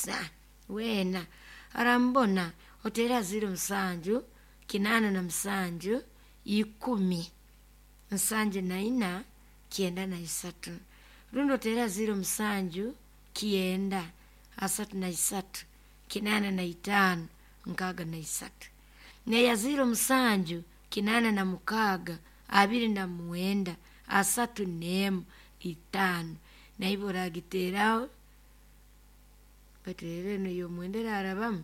Musa weena arambona oteera 07 87 10 74 93 rundi oteera 07 9 33 85 63 neya 07 86 29 31 5 naiwe oragiteeraho baitu rero enu ey'omwenda erarabamu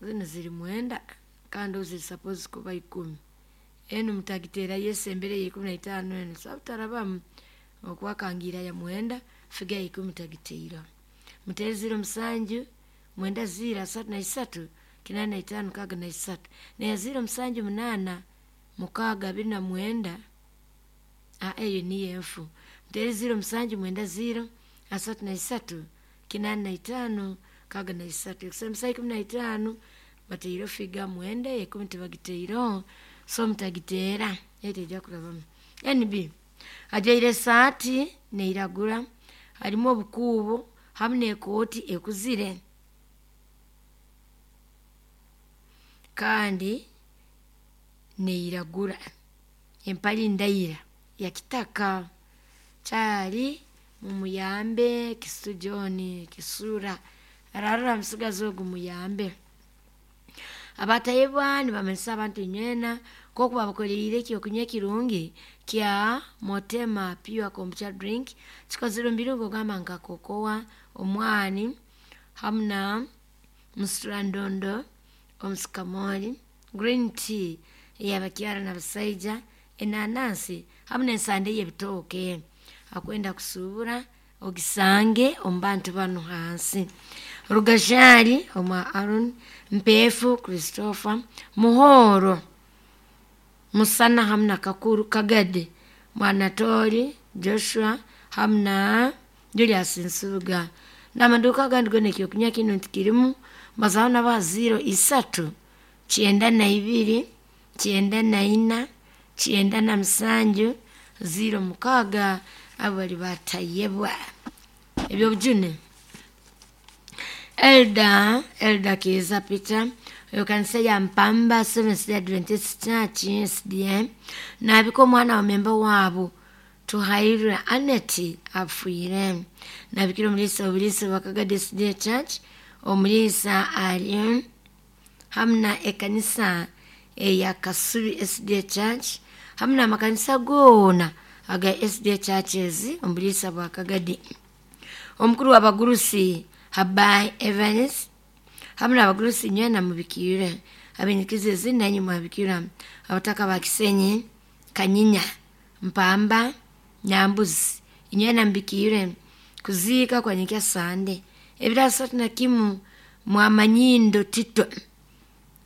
zinu ziri 9 kandi ziri supposed kuba 10. Enu mutagiteerayo esembere ya 15 enu sabu tarabamu okwakangira ya 9 figa ya 10 tagiteiraho. Muteere 07 90 33 85 63 neya 07 8 6 29 eyo niyo enfu. Muteere 07 90 33 85 63 ekusemesa 15 bateireho figa 9 10 tibagiteireho so mutagiteera eyo teija kurabamu. NB ajwaire esaati neiragura harimu obukuubo hamu n'ekooti ekuzire kandi neiragura empali ndaira ya kitaka kyali mumuyambe Kisitu John Kisura ararora musigazi ogu muyambe. Abatayebwa nibamanyisa abantu inywena nk'oku babakoleire ekyokunywa ekirungi kya Motema Pure Kombucha Drink kikozirwe omu birungo ogamba nka kokoa, omwani hamu na musirandondo, omusikamoli, green tea ey'abakyara n'abasaija, enanansi hamu n'ensande y'ebitooke. Akwenda kusuubura ogisange omu bantu banu hansi. Rugajari omwa Aaron, Mpeefu Christopher, Muhoro Musana hamu na Kakuru Kagade, Mwanatoli Joshua hamu na Julius Nsubuga. N'amaduuka agandi goona ekyokunywa kinu ntikirimu mbazaho nabaha 03 92 94 97 06 abo bali batayebwa. Ebyobujune Elda Kiiza Peter oyo kanisa ya Mpamba Seventh Day Adventist Church SDA nabika omwana wa memba waabo Tuhairwe Annet afiire. Nabikira omuliisa obuliisa bwa Kagadi SDA Church omuliisa ali hamu na ekanisa eya Kasubi SDA Church hamu n'amakanisa goona aga SDA Churches omu buliisa bwa Kagadi. Omukuru w'abagurusi Habai Evans hamu n'abagurusi inywena mubikiire abenyikiza ezi nainywe mwabikira abataka ba Kisenyi, Kanyinya, Mpamba, Nyambuzi inywena mubikiire kuziika kwa nyenkya Sande ebiro 31 Mwamanyindo Tito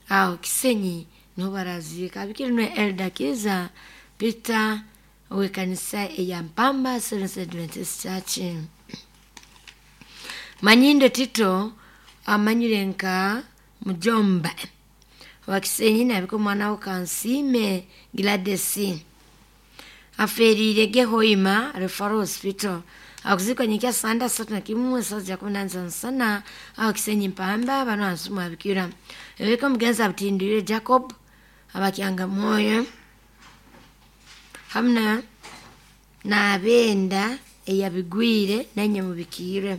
aho Kisenyi niho baraziika. Abikire nwe Elda Kiiza Peter ow'ekanisa eya Mpamba Seventh Adventist Church. Manyindo Tito amanyire nka mujomba wa Kisenyi nabika omwana we Kansiime Gladys aferiire Gehoima Referral Hospital akuziikwa nyenkya Sande 31 esaaha ja 17 aho Kisenyi Mpamba banu hansi mwabikira. Ebika omugenzi abutindwire Jacob abakyanga mwoyo hamu n'abenda eyabigwire nainywe mubikiire.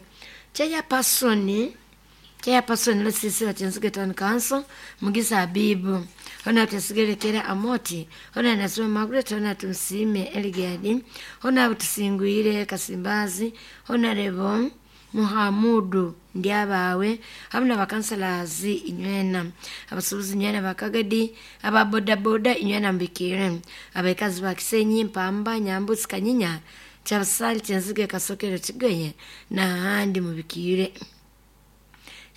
Chairperson Lusisi wa Chinsuge Town Council Mugisa Habibu hona tusigerekera Amoti hona Nasoma Margaret hona Tumsiime Eligadi hona Tusingwire Kasimbazi hona Rebo Muhamudu Ndyabawe hamu n'abakansalazi inywena abasuubuzi inywena bakagadi ababodaboda inywena mbikiire abaikazi ba Kisenyi Mpamba Nyambuzi Kanyinya Kyabasali Kyenzige Kasokero Kigoye n'ahandi mubikiire.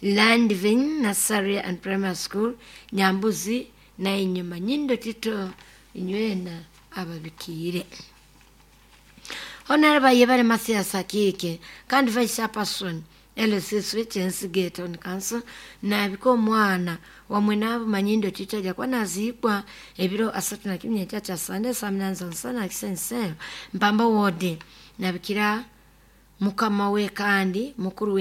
Landvin Nursery and Primary School Nyambuzi nainywe Manyindo Tito inywena ababikiire. Honorable Yebale Mathias Akiike kandi Vice Chairperson LCC Kyensige Town Council nabika omwana wamwe n'abo Manyindo Tito aja kuba naziikwa ebiro 31 nyenkya kya Sande saa 8 Kisenyi Mpamba Ward nabikira mukama we kandi mukuru we.